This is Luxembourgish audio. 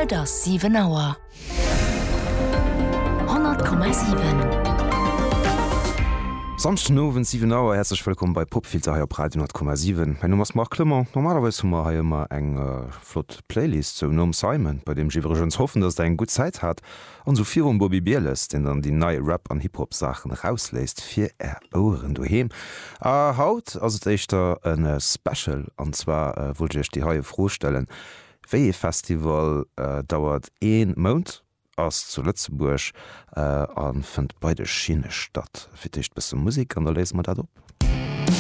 Et ass 7 Auer. 100,7. Samschden Owend 7 Auer, häerzlech wëllkomm bei Popfilter hei op Radio 10,7. Mäin Numm ass Marc Clement. Normalerweis hu mer hei ëmmer eng flott Playlist, sou nom Simon, bei deem ech iwwregens hoffen, dass der eng gutt Zäit hat, an sou virum Bobby Bieles, deen dann déi nei Rap an Hip-Hop Saachen erausléisst fir är Oueren doheem. A haut ass et éischter e Special, an zwar wollt ech iech déi heie Fro stellen, Wéi ee Festival dauert ee Mount, ass zu Lëtzebuerg a fënnt bei de Schinne statt? Fir d'éischt bësse Musek an da léise mer dat op.